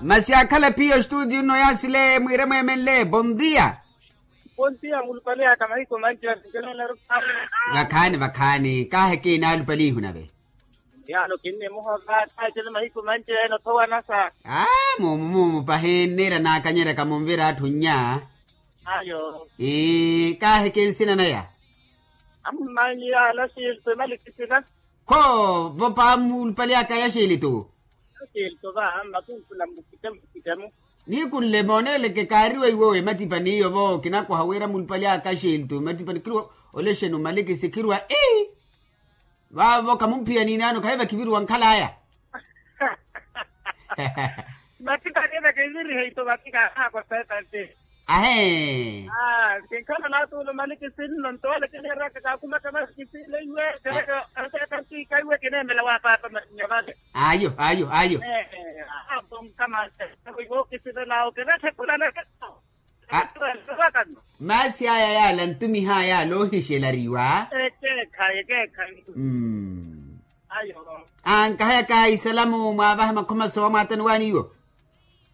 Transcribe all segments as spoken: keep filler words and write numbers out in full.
Masi akhala phiyo studio nno yaasile mwiire mweemenle bondia. Bondia mulupale aka mahiku manci. Vakhaani vakhaani kaaheke inaalupalihu nave. Yaano kinnimuhova kaacele mahiku manci ene othowanasa. Aa mumu mumu pahi nniira naakanyeryaka munvira atthu nnya. Ayo. Ii kaaheke nsina naya. Ammanyiya ala xilto emalikitina. Kho vopa mulupali aka ya xilto. Xilto va makunkula mukitemu kitamu. Nikunle mooneleke kaariwa iwo ematipani iyo vo kinakoha wira mulupali aka xilto ematipani khiriwa. Olexeni omalikisi khiriwa ii. Vaavo khamumphiya niinaano khaiva khiviriwa nkhalaya. Matika nina kevirihe ito matika anaakosa etanti. Ahee. Kinkhala naatuula omalikisi nno ntoole kineeraka kaakhumaka malikisi leiwe. Kereke. Etanti kaiwe kineemela wa paapa manyavale. Ayo ayo ayo. Atomkamase. Iwo kisivelao kineetthekulana. Masi aya yaala ntumihaya yaala ohixelariwa. Ekeekhayi ekeekhayi. Ankahayaka isalamu mwaavaha makhoma soowa mwaataniwani iwo.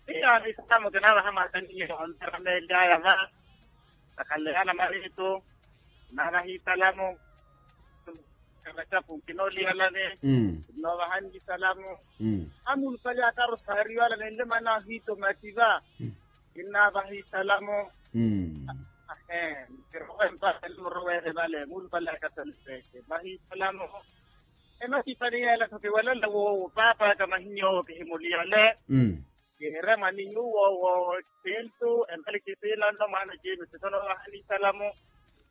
Iyo isalamu kinaavaha mwaataniwani iwo ontarameeli aya va. Vakhaleyana maritu. Naavaha isalamu. Kavacapu kinooliyalani. Kinoovahanyi isalamu. Amulupali akarosaariyo ala nenle manahiito matipa. Kinnaavaha isalamu. Ahe. Kirowe mpaka nimurowere vale mulupale akasaleseke vahi isalamu. Ematipani yeela tho kiwalala woowo paapa aka mahinyowo kihimuliyale. Kihire mwani nyuwo woowo. Sintu embali kisilano mwana jimi sitonovaha ni isalamu.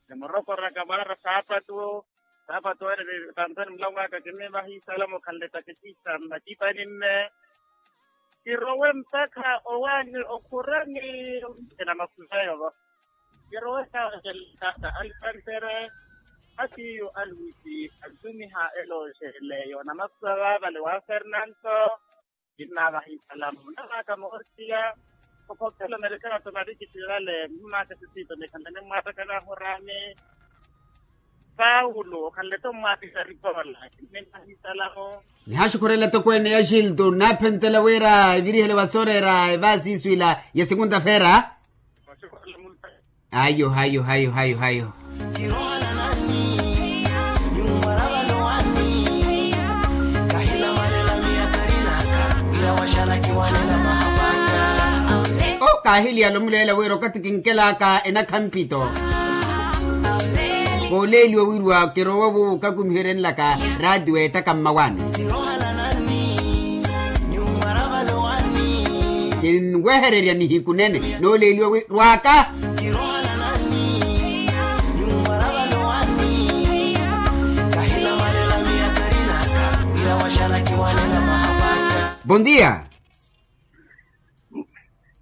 Nimurokoraka mwaara saapatu. Saapatu ene ni panthoni mulamu aka kinnivaha isalamu khanle takitisa mmatipani mme. Kirowe mpakha owaani okhurani. Ena makhweyo vo. Kirowe kawakelekaka alipantere. Atiyo aluwisi antumiha elooxeleyo namakhuwa vaavale wa fernanto. Kinnaavaha isalamu navaaka moortiya. Okhokhela omerekana tomarikisi vale mmaaka sisiito nikhanlane mmwaataka nahurani. Paulo okhanle-tho mmwaapisa rikola. Kinnivaha isalamu. Nihaxukhurela tokweene ya xilto nnaaphentela wira evirihele wasooreera evaasi isu ila ya sekunta feera. Ayo ayo ayo ayo ayo. O kaahiliyala omuleela wira okathi kinkelaka enakha mpito. Kooleeliwa wiriwa kirowa wuwo okakumiheryenlaka raatiyo ettaka mmawaani. Kinwehererya nihiku nene nooleeliwa wi rwaka. Bondia.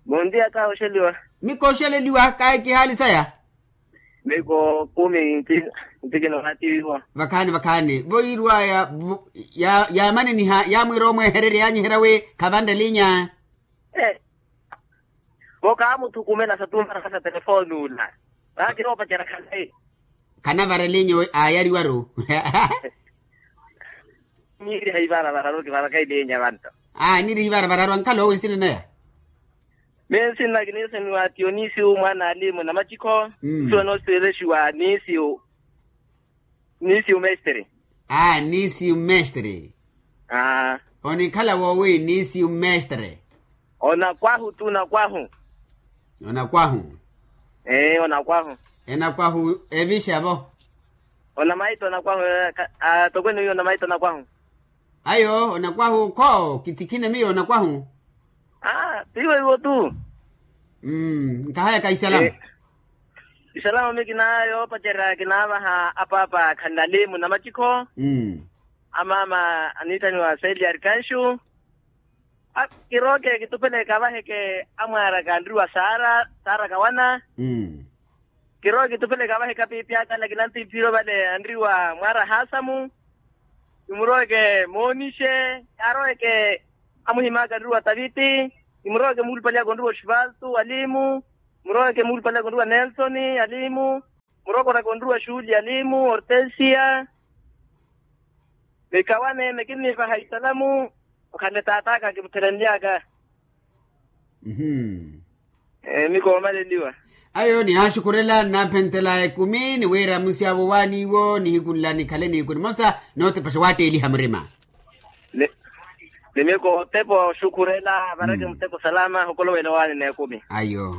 Bondia kahoxeliwa. Mikoxeleliwa kaye kihaali saya. Miko kumi ntikina watiiwa. Vakhaani vakhaani voyiirwaya. Yaamaneniha yaamwiira omwehererya yaanyiherya wi khavanre linya. Vo kaamuthukumela sa tumparaka sa telefoni ula. Vaakiroopacerya khalayi. Khanavara linya. Aayariwaru. Niiri haivara vararu kivaraka ilinya vantu. Aa niiri haivara vararu ankhala owe nsina naya. Miyo nsina kiniisoniwa tionisiu mwaana alimu na macikho. Nsiwa noosiwelexiwa nisiu. Nisiu mestre. Aa nisiu mestre. Onikhala woowi nisiu mestre. Onakwahu tu onakwahu. Onakwahu. Ee onakwahu. Enakwahu evixa vo. Onamaita onakwahu. Tokwene oyo onamaita onakwahu. Ayo onakwahu kho kitikhine miyo onakwahu. Aa tiivo iwo tu. Nkahayaka isalamu. Isalamu miyo kinaayo opacerya kinaavaha apaapa khanalimu na macikho. Amaama aniithaniwa seeli arikanxu. Kirooke kitupeleke avaheke amwaaraka anriwa sara sara kawana. Kirooke kitupeleke avaheke apiipi aka ala kinantiphiro vale anriwa mwaara hasamu. Kimuroweke moonixe. Aroweke amuhimaka anriwa taviti. Kimuroweke muulupaliyaka onriwa oxivaltu alimu. Kimuroweke muulupaliyaka onriwa nelsoni alimu. Murokoraka onruwa xuuli alimu ortensia. Mikawane mekinnivaha isalamu. Okhale taataka kimuthelenlyaka. Mhm. Miiko omaleliwa. Ayo nihaaxukhurela nnaaphentela ekumi ni wira musi awo waaniiwo nihiku nla nikhale nihiku nimosa nootepaxa waatteeliha murima. Ni miiko otepa oxukhurela vareke muteko salama hokolowela owaani n'ekumi. Ayo.